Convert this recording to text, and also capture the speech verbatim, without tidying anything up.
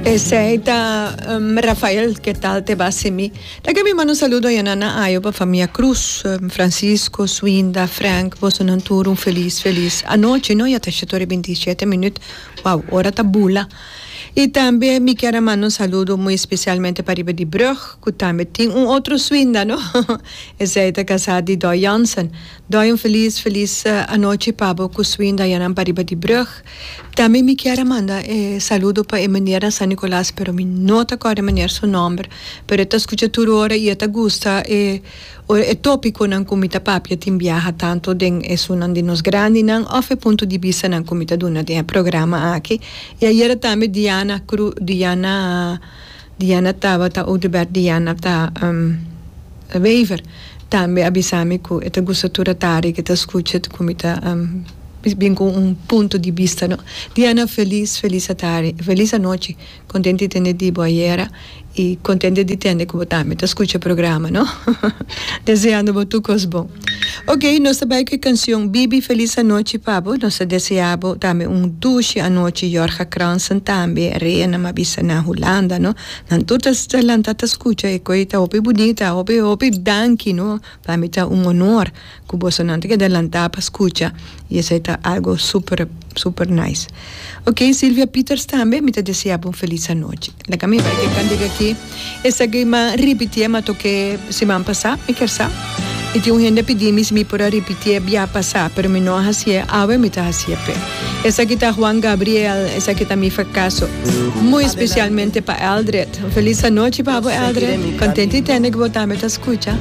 Esey ta um, Rafael, "Qué tal te va sin mí?" Laga mi manda un saludo na na ayo pa famia Cruz, um, Francisco, Swinda, Frank, boso nan tur un feliz, feliz anochi, no? Ya ta shete binti shete minuut. Wow, ora ta bula. Y tambe mi kier manda un saludo muy especialmente pa riba di brug, cu tambe tin un otro Swinda, no? Esey ta casa di Doy Jansen. Doy, un feliz, feliz uh, anochi pa bo cu Swinda ayanan pa riba di brug. Tambe mi kier manda eh, saludo pa meneer San Nicolas, pero mi no ta corda meneer su nomber, pero e ta scucha tur ora y e ta gusta eh, e topiconan cu mi ta papia tin biaha, tanto den esunnan di nos grandinan of e punto di bista nan cu mi ta duna den programa aki. Y ayera tambe Diana Cru, Diana Diana tabata Oudebert, Diana ta um, Wever tambe a bisa mi cu e ta gusta tur atardi cu e ta scucha cu mi ta um, bin cu un punto di bista, no? Diana, feliz, feliz atardi, feliz anochi. Contento di tende di bo ayera y contento di tende cu bo tambe ta scucha e programa, no? Deseando bo tur cos bon. Ok, nos ta bay cu e cancion Bibi. Feliz anochi pa bo. Nos ta desea bo tambe un dushi anochi. Jorge Kransen tambe, Rena, m'a bisa na Hulanda, no? Nan tur ta lanta ta scucha e cos ta hopi bunita, hopi hopi danki, no? Pa mi ta un honor cu boso nan ta keda lanta pa scucha y esey ta algo super super nice. Ok, Silvia Peters tambe, mi ta desea un feliz anochi. Laga mi bay cu e cantica aki. Esaki m'a ripiti, m'a toca siman pasa, mi kier sa. Y tin un hende pidi mi si mi por a ripiti bia pasa, pero mi no a haci'e, awe mi ta haci'e pe. Esaki ta Juan Gabriel, esaki ta "Mi Fracaso". Muy especialmente pa Eldred. Feliz anochi pa Eldred. Contento di tende cu bo tambe ta scucha.